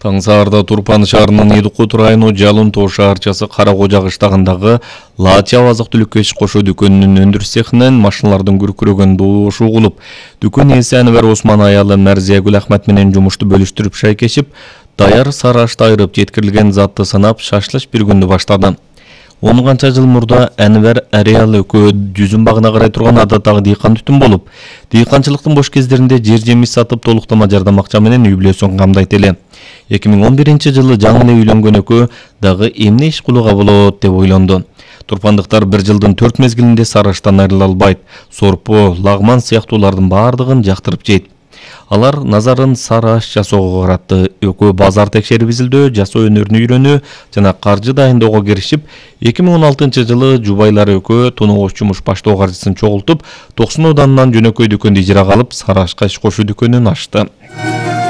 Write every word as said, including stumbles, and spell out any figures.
Таң саарда Турпан шаарынын Идукут району Жалын тоо шаарчасы Кара Кожа кыштагындагы Лачав азык-түлүккө иш кошуу дүкөнүнүн өндүрүш цехинен машиналардын күркүрөгөн доошу угулуп, дүкөн ээси Анвар Осман аялы Мәрзиягүл Ахмет менен жумушту бөлүштүрүп шайкешип, даяр сары ашты айырып жеткирилген затты санап шашлыш бир күндү баштады. он канча жыл мурда Анвар ареал экөө жүзүм багына карай турган адаттагы дыйкан түтүн болуп, дыйканчылыктын бош кездеринде жер жемиш сатып толуктама жардам акча менен үй бүлөсүн камдайт эле. эки миң он биринчи жылы жаңы эле үйлөнгөн экөө дагы эмне иш кылууга болот деп ойлонду. Турпандыктар бир жылдын төрт мезгилинде сары аштан айрыла албайт. Сорпо, лагман сыяктуулардын баардыгын жактырып жейт. Алар назарын сары аш жасоого каратты. Экөө базар текшерип изилдөө, жасоо өнөрүнө үйрөнүү жана каржы дайындоого киришип, эки миң он алтынчы жылы жубайлары экөө тоногоч жумуш баштоо каржысын чогултуп, токсон ауданынан жөнөкөй дүкөндү ижарага алып, сары ашка иш кошуу дүкөнүн ачты.